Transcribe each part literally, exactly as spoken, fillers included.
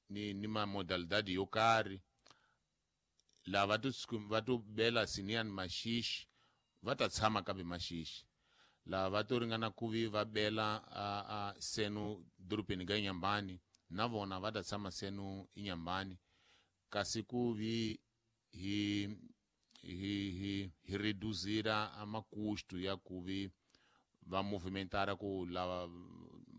ni ni ma modalidade yo karhi. Lava to va to bela siniyani maxixi va ta tshama kambe maxixi. Lava va to ringana ku vi va bela a, a senu dorobeni ka Inhambane na vona va ta tshama senu Inhambane. Kasi ku vi hi hi hi hi reduzira a makusto ya ku vi va movimentara ku lava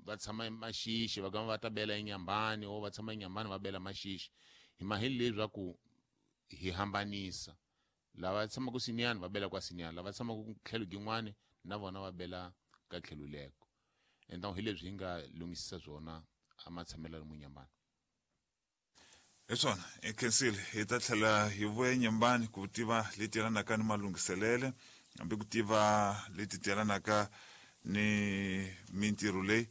va tshama maxixi va gama va ta bela Inhambane o va tshama Inhambane va bela maxixi. Hi maheli leswaku hi hambanisa lava tshamaka siniyani va bela kwa siniyani, lava tshamaka tlhelo gin'wani na vona va bela ka tlhelo leko. Então hi leswi hi nga lunghisisa swona a matshamelo lomu Inhambane. Hi swona hi khensile hi ta tlhela hi vuya Inhambane ku tiva leti yelanaka ni malunghiselele hambi ku tiva leti yelanaka ni mintirho leyi.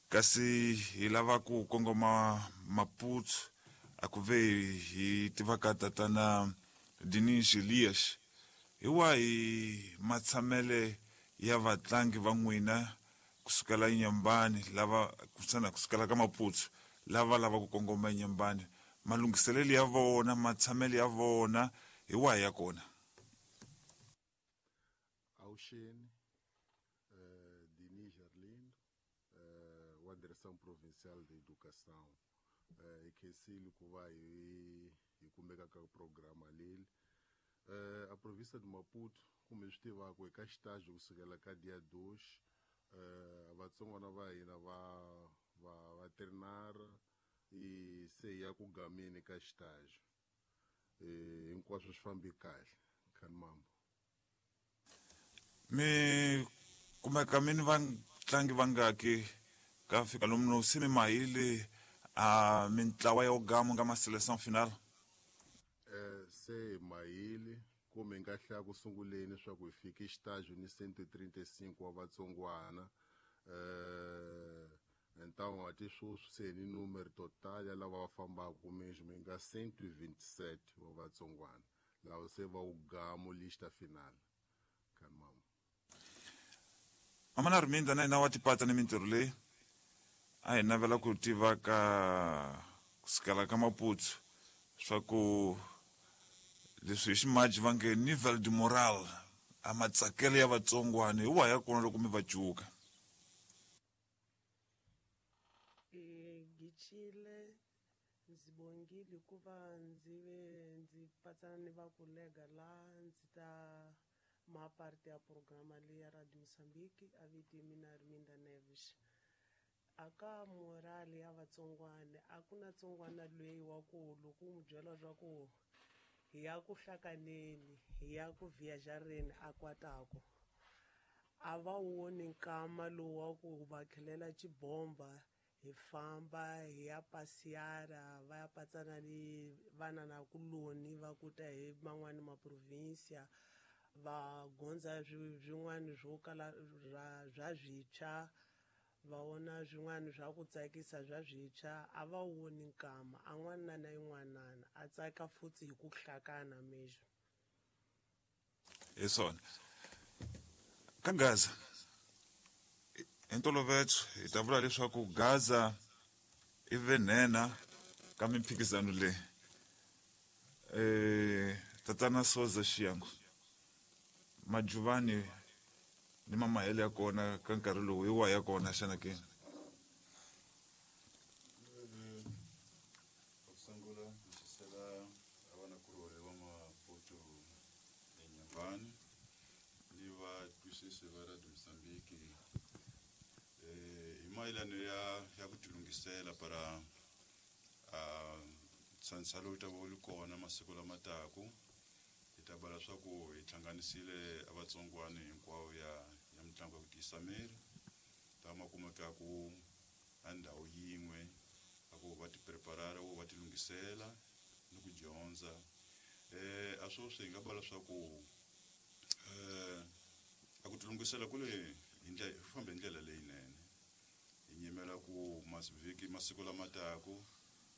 Kasi hi lava ku kongoma Maputo a ku ve hi tiva ka tatana Dinis Elias hi wahi matshamele ya vatlangi va n'wina kusukela Inhambane lava kusana kusukela ka Maputo lava lava ku kongoma Inhambane, malunghiselelo ya vona matshamele ya vona hi wahi ya kona? Avuxeni, eh, Dinis Arlindo, eh, wa Direção Provincial de Educação. Eh, hi khensile ku va hi hi kumeka ka programa leyi. Eh, a província de Maputo, kumbe swi tivaka eka xitaji kusukela ka dia dois, eh, vatsongwana va hina va va va trinara i se ya ku gameni ka xitaji. Eh, hinkwaswo swi fambi kahle. Khanimambo. Mi kumeka mi ni vatlangi vangaki ka fika lomu no se mi mahile a mintlawa ya gamo nga ma seleção final? Eh, se mahile kumbe nga hlaya ku sunguleni leswaku hi fike xitaji ni cento e trinta e cinco wa vatsongwana. Eh, então ati sweswi se ni numero total ya lava va fambaka mesmo mi nga cento e vinte e sete wa vatsongwana lava se va ugamo lista final. Khanimambo. Mama na Arminda na hina wa tipatsa ni mintirho leyi a hi navela ku tiva ka kusukela ka Maputo swa ku leswi hi ximaji va nge nivel de moral a matsakelo ya vatsongwana hi wahi ya kona loko mi va cuka? Gicile ndzi bongile hikuva ndzi ve ndzi patsana ni va kolega la ndzi ta ma parte ya programa leyi ya Radio Mozambique a vito mina Arminda Neves. Aka morale ya vatsongwana a ku na tsongwana loyi wa ku loko u n'wi byela swa ku hi ya ku hlakaneni hi ya ku viajareni a kwatako a va woni nkama lowu wa ku va khelela xibomba hi famba hi ya pasiyara va ya patsana ni vana na kuloni va kuta hi man'wani ma provincia va gondza swin'wana swo kala swa swintshwa va vona swin'wana swa ku tsakisa swa swintshwa a va woni nkama a n'wana na yin'wanana a tsaka futhi hi ku hlakana mesmo. Hi swona ka Gaza hi ntolovelo hi ta vula leswaku Gaza i venhena ka mimphikizano leyi. Eh, tatana Soza Xiyango Majuvani ni mamahele ya kona ka nkarhi lowu hi wahi ya kona xana ke? Ku sungula ndzi a vanakulorhi va Maputo eNyambani ni vatwisisi va Radio Mozambique eh hi mayelano ya ya ku tilunghisela para a ntsantsa lowu ta va wu ri kona masiku lama taku. Hi ta bala swa ku hi hlanganisile a vatsongwana hinkwavo ya ya mitlangu ya ku tiyisa miri ta ma kumekaku a ndhawu yin'we a ku va ti preparara va ti lunghisela ni ku dyondza. Eh a sweswi hi nga bala swa ku eh a ku tilunghisela ku le hi ndlela hi fambe hi ndlela leyinene hi nyimela ku masivhiki masiku lama taku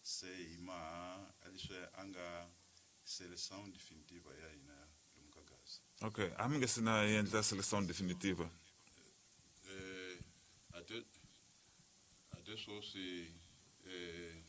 se hi maha leswi a nga seleção definitiva ya hina lomu ka Gaza. Okay, a mi nge se na endla seleção definitiva? Eh ate ate sweswi eh